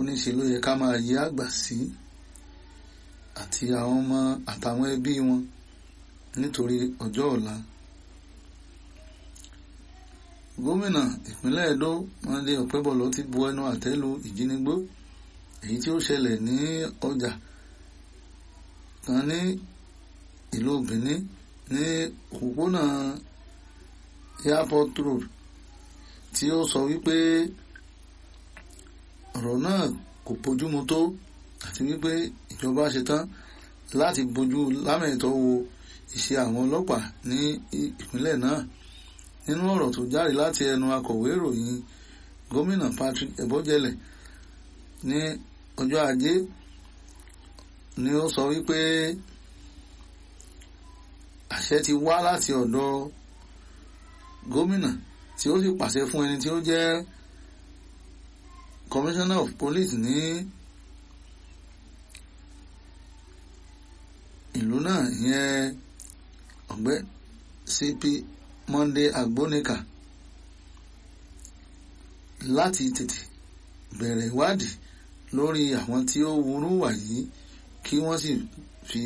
Ó ní ṣe ló yẹ ká máa yí àgbà sí àti àwọn ọmọ àtàwọn ẹbí wọn nítorí ọjọ́ ọ̀la. Gómìnà ìpínlẹ̀ Ẹdó Monday Ọ̀pẹ́bọ̀lọ́ ti bu ẹnu àtẹ́ lu ìjínigbó èyí tí ó ṣẹlẹ̀ ní ọjà kan ní ìlú Benin ní òpópónà Airport Road, tí ó sọ wípé ọ̀rọ̀ náà kò bójúmu tó àti wípé ìjọba ṣetán láti bójú lámẹ̀tọ́ wo ìṣe àwọn ọlọ́pàá ní ìpínlẹ̀ náà. Nínú ọ̀rọ̀ tó jáde láti ẹnu akọ̀wé ìròyìn gómìnà Patrick Ebojele ní ọjọ́ Ajé ni ó sọ wípé àṣẹ ti wá láti ọ̀dọ̀ gómìnà tí ó sì pàṣẹ fún ẹni tí ó jẹ́ commissioner of police ní ìlú náà, ìyẹn ọ̀gbẹ́ CP Monday Agbonika, láti tètè bẹ̀rẹ̀ ìwádìí lórí àwọn tí ó wúrú wà yìí kí wọ́n sì fi